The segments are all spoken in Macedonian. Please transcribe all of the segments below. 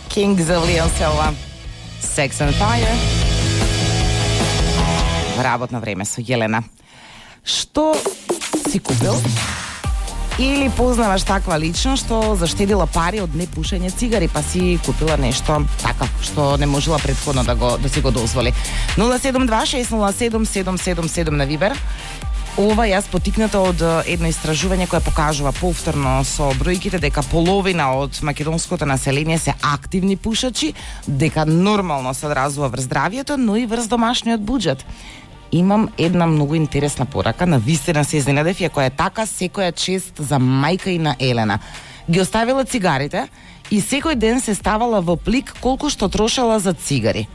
Kings of Leon Selva, Sex and Fire. Работно време со Јелена. Што си купил? Или познаваш таква личност што заштедила пари од непушење цигари, па си купила нешто така што не можела претходно да си го дозволи. 072-607-777 на Вибер. Ова јас потикната од едно истражување кое покажува повторно со бројките дека половина од македонското население се активни пушачи, дека нормално се одразува врз здравието, но и врз домашниот буџет. Имам една многу интересна порака, на вистина се изненадев, ја која е така секоја чест за мајка и на Елена. Ги оставила цигарите и секој ден се ставала во плик колку што трошела за цигари.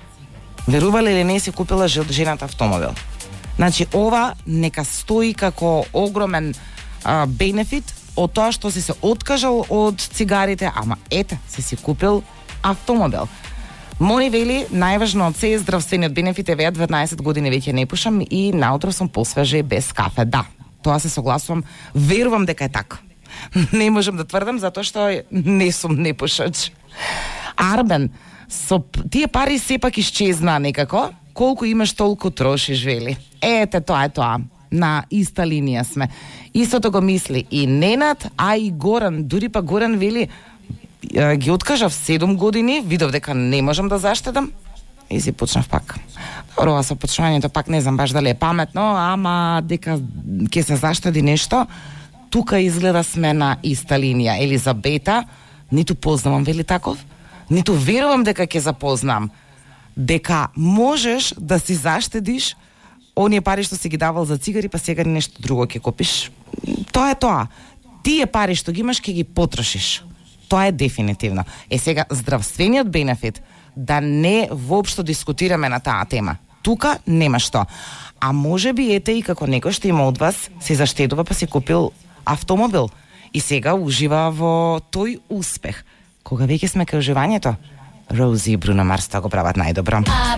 Верували или не, си купила жената автомобил. Значи, ова нека стои како огромен бенефит од тоа што си се откажал од цигарите, ама ете, си купил автомобил. Мони вели, најважно од се е здравствениот бенефит, еве 12 години веќе не пушам и наутро сум посвеже без кафе. Да, тоа се согласувам, верувам дека е така. Не можам да тврдам затоа што не сум непушач. Арбен, со тие пари сепак исчезнаа некако, колку имаш толку трошиш, вели. Ете, тоа е тоа. На иста линија сме. Истото го мисли и Ненад, а и Горан. Дури па Горан вели, ги откажав 7 години, видов дека не можам да заштедам и си почнав пак. Добро, ова со почнувањето пак не знам баш дали е паметно, ама дека ќе се заштеди нешто, тука изгледа сме на иста линија. Елизабета, ниту познавам, вели таков, ниту верувам дека ќе запознам, дека можеш да си заштедиш оние пари што си ги давал за цигари, па сега нешто друго ќе купиш. Тоа е тоа. Тие пари што ги имаш ќе ги потрошиш. Тоа е дефинитивно. Сега, здравствениот бенефит, да не воопшто дискутираме на таа тема. Тука нема што. А може би ете и како некој што има од вас се заштедува па си купил автомобил и сега ужива во тој успех. Кога веќе сме кај уживањето, Рози и Бруно Марс го прават најдобро.